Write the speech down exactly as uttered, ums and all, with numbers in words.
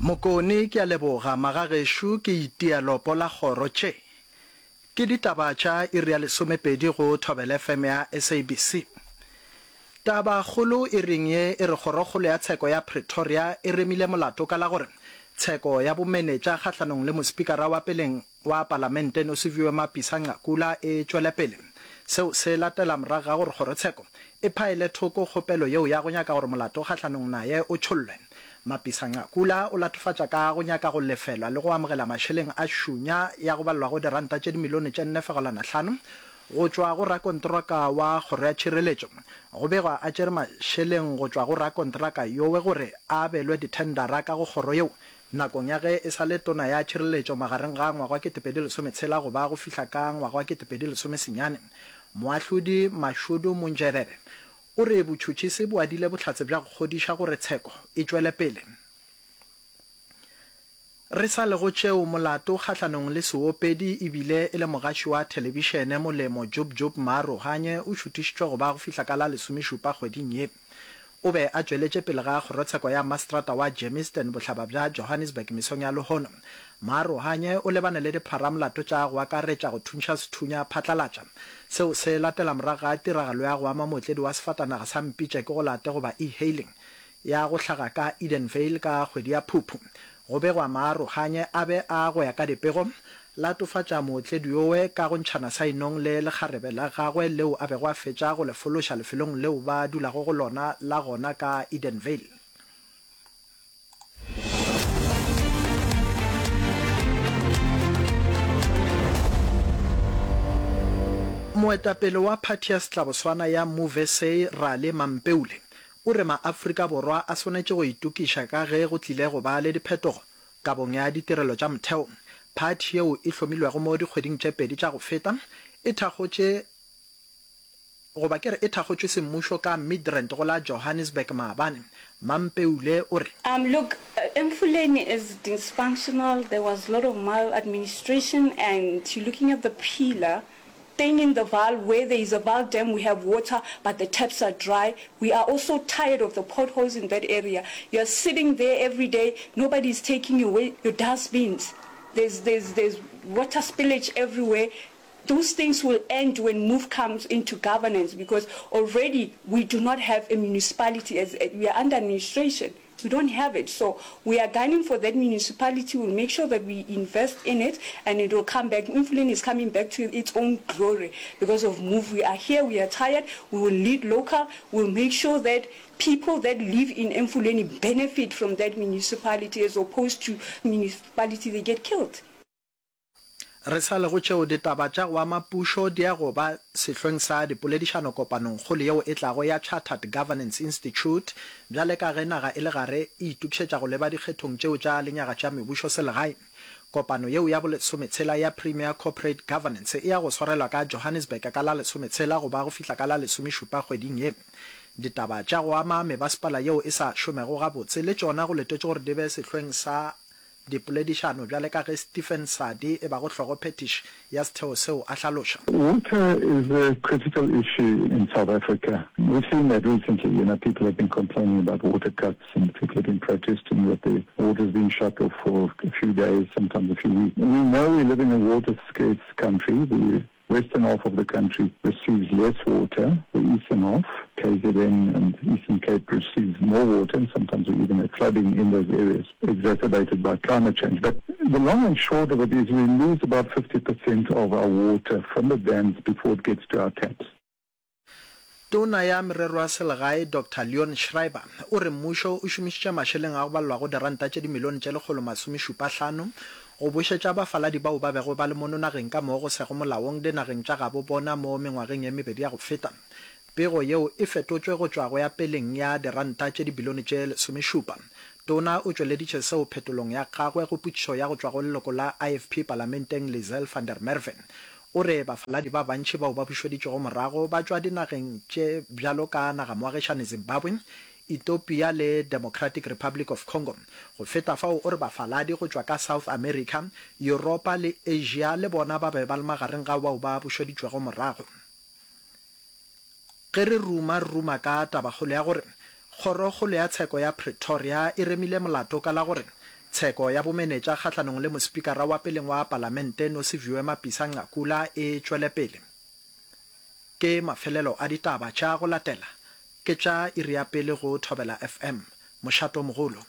Mokone, Ke a leboga, magagešo, ke itia lopo la kgoro. Tše ke ditaba tša iri ya lesomepedi go Thobela F M ya S A B C. Tabakgolo iring ye e re Kgorokgolo ya Tsheko ya Pretoria e remile molato ka la gore tsheko ya bomenetša kgahlanong le mospikara wa peleng wa Palamente Nosiviwe Mapisa-Nqakula e tšwele pele. Seo se latela morago ga gore kgorotsheko e phaele thoko kgopelo yeo ya go nyaka gore molato kgahlanong naye o tšhollwe. Mapisa-Nqakula o latofatša ka go nyaka go lefelwa le go amogela mašeleng a šunya ya go balelwago diranta tše dimilione tše nne fegelwana hlano go tšwa go rakontraka wa Kgoro ya Tšhireletšo. Go begwa a tšere mašeleng go tšwa go rakontraka yowe gore a abelwe dithendara ka go kgoro yeo nakong ya ge e sa le Tona ya Tšhireletšo magareng ga ngwaga wa ketepedi lesometshela go ba go fihla ka ngwaga wa ketepedi lesomesenyane. Moahlodi Mashudu Munzhelele o re botšhotšhisi bo adile bohlatse bja go kgodiša gore tsheko e tšwele pele. Re sa le go tšeo, molato kgahlanong le seopedi e bile e le mogaši wa thelebišene Molemo Jub Jub Maarohanye o šuthišitšwe go ba go fihla ka la lesomešupa kgweding ye. O be a tšweletše pele ga kgorotsheko ya maseterata wa Germiston bohlaba bja Johannesburg mesong ya lehono. Maarohanye o lebane le dipharamolato tša go akaretša go thuntšha sethunya phatlalatša. Seo se latela morago ga tiragalo ya go ama mootledi wa sefatanaga sa Mpitše ke go late goba e-hailing ya go hlaga ka Edenvale ka kgwedi ya Phuphu. Go begwa Maarohanye a be a go ya ka dipego latofatša mootledi yowe ka go ntšhana sa inong le lekgarebe la gagwe leo a bego a fetša go le fološa lefelong leo ba dulago go lona la gona ka Edenvale. Moetapele wa phathi ya Setlaboswana ya Move S A Rale Mampeule o re maAfrika Borwa a swanetše go itokiša ka ge go tlile go ba le diphetogo kabong ya ditirelo tša motheo. Phathi yeo e hlomilwego mo dikgweding tše pedi tša go feta e thakgotše goba ke re e thakgotšwe semmušo ka Midrand go la Johannesburg maabane. Mampeule o re. Um, look, uh, Emfuleni is dysfunctional. There was a lot of maladministration, and you're looking at the pillar thing in the Vaal, where there is a Vaal Dam, we have water, but the taps are dry. We are also tired of the potholes in that area. You are sitting there every day, nobody is taking away your dustbins. There's, there's, there's water spillage everywhere. Those things will end when MOVE comes into governance, because already we do not have a municipality, as we are under administration. We don't have it. So we are gunning for that municipality. We'll make sure that we invest in it and it will come back. Emfuleni is coming back to its own glory because of MOVE. We are here, we are tired. We will lead local. We'll make sure that people that live in Emfuleni benefit from that municipality as opposed to municipality they get killed. Re sa le go tšeo, ditaba tša go ama pušo di ya go ba sehlweng sa dipoledišano kopanongkgolo yeo e tlago ya Chartered Governance Institute bjale ka ge naga e le gare e itokišetša go leba dikgethong tšeo tša lenyaga tša mebušo selegae. Kopano yeo ya bolesometshela ya Premier Corporate Governance e ya go swarelwa ka Johannesburg ka la lesometshela go ba go fihla ka la lesomešupa kgweding ye. Ditaba tša go ama mebasepala yeo e sa šomego gabotse le tšona go letetšwe gore di be sehlweng sa dipoledišano bjale ka ge Stephen Sadi e bago hlogophethiši ya setheo seo a hlaloša. Water is a critical issue in South Africa. We've seen that recently, you know, people have been complaining about water cuts and people have been protesting that the water's been shut off for a few days, sometimes a few weeks. We know we live in a water scarce country. The western half of the country receives less water. The eastern half, K Z N and Eastern Cape, receives more water, and sometimes we even have flooding in those areas, exacerbated by climate change. But the long and short of it is we lose about fifty percent of our water from the dams before it gets to our taps. Tona ya Merero ya Selegae Doctor Leon Schreiber o re mmušo o šomišitše mašeleng a go balelwago diranta tše dimilione tše lekgolo masomešupa hlano go bošetša bafaladi bao ba bego ba le mono nageng ka mo go sego molaong dinageng tša gabo bona mo mengwageng ye mebedi ya go feta. Pego yeo e fetotšwe go tšwa go ya peleng ya diranta tše dibilione tše lesomešupa. Tona o tšweleditše seo phetolong ya gagwe go potšišo ya go tšwa go leloko la I F P palamenteng Lizelle van der Merwe. O re bafaladi ba bantši bao ba bušeditšwego morago ba tšwa dinageng tše bjalo ka nagamoagišane Zimbabwe, Ethiopia le Democratic Republic of Congo. Go feta fao o re bafaladi go tšwa ka South America, Yuropa le Asia le bona ba be ba le magareng ga bao ba bušeditšwego morago. Ge re ruma re ruma ka tabakgolo ya gore Kgorokgolo ya Tsheko ya Pretoria e remile molato ka la gore Tsheko ya bomenetša kgahlanong le mospikara wa peleng wa palamente Nosiviwe Mapisa Nqakula e tšwele pele. Ke mafelelo a ditaba tša go latela ke tša iri ya pele go Thobela FM, mošato mogolo.